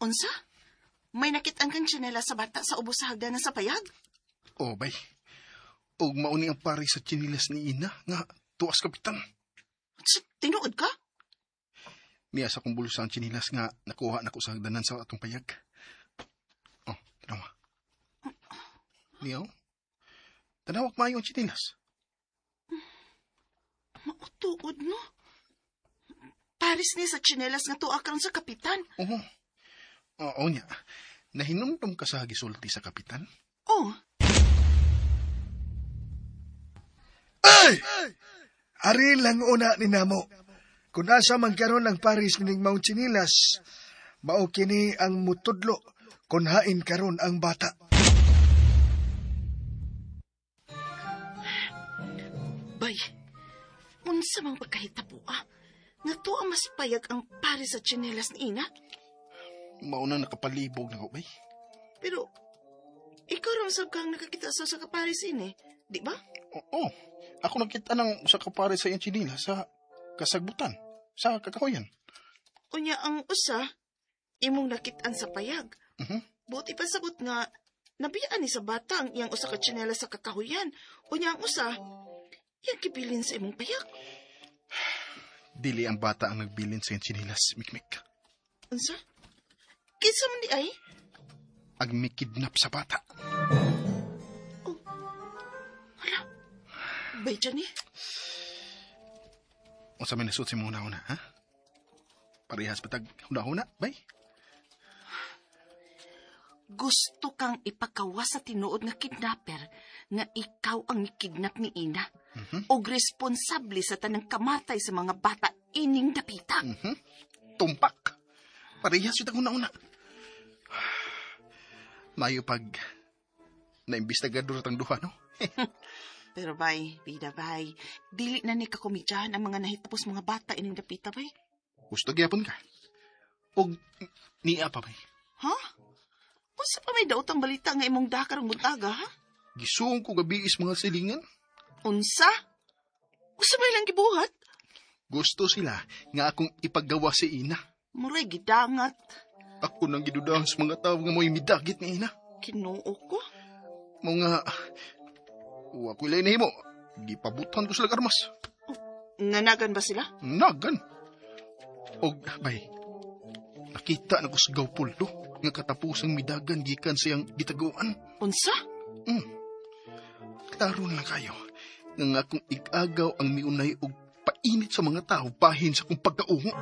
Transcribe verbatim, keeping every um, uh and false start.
Unsa? May nakit-an kang tsinelas sa bata sa ubos sa hagdanan sa payag? Oh, bay. Og mauni ang pare sa tsinilas ni Ina nga tuas kapitan. Sa tinuod ka? Niya sa kong bulsa ang tsinilas nga nakuha nako sa hagdanan sa atong payag. Oh, tanawa. Niyaw? Tanawag maayo ang tsinilas. Mautuod, no? Pares ni sa tsinelas nga tuwa karon sa kapitan. Oo. Oo niya. Nahinumdum ka sa gisulti sa kapitan? Oh, Ay! Ari lang una ni namo. Kung asa man karon ang paris nining maong tsinilas, mao kini ang mutudlo kung hain karon ang bata. Bay, unsa mang pagkahitabo ah? Nga tuwa mas payag ang pares sa tsinelas ni Ina. Mauna nakapalibog na ko, bay. Pero, ikaw rin sab kang nakakita sa sa kapares ini, di ba? Oo. Ako nakita ng sa kapare sa iyang tsinilas sa kasagbutan, sa kakahuyan. Unya ang usa, imong nakitaan sa payag. Mhm. Buti pa sabot nga, nabiyaan ni sa bata ang iyang usa ka tsinelas sa kakahuyan. Unya ang usa, iyang kibilin sa imong payag. Dili ang bata ang nagbilin sa iyang tsinilas, Mikmik. Unsa? Kinsa man di ay? Ang mikidnap sa bata. Hala. Bay, Johnny. Unsa may nasuot si mong una-una, ha? Parehas patag huna-huna, bay? Gusto kang ipakawas sa tinuod nga kidnapper nga ikaw ang kidnap ni Ina. Mhm. Og responsable sa tanang kamatay sa mga bata ining dapita. Mhm. Tumpak. Parehas yun ang una-una. Mayo pag naimbestigador atang duha, no? Pero bay, bida bay, dili na ni kakomedyahan ang mga nahitapos mga bata ining dapita bay. Gusto gyapon ka. Og niya pa bay. Ha? Unsa pa may daotang balita nga imong dakar ang buntaga, ha? Gisuong ko gabi is mga silingan. Unsa? Unsa may lang gibuhat? Gusto sila nga akong ipagawa si Ina. Muray gidangat. Ako nang gidudahan sa mga tao nga mo'y midagit ni Ina. Kinuo ko. Mga... Wa ko ilay nahimo. Gipabutan ko sila armas. Nanagan ba sila? Nagan. Og, bay, nakita na ko sa gawpulto nga katapusang midagan gikan sa iyang gitaguan. Unsa? Mm. Klaro na lang kayo nga akong igagaw ang miunay og painit sa mga tao bahin sa akong pagkaungo.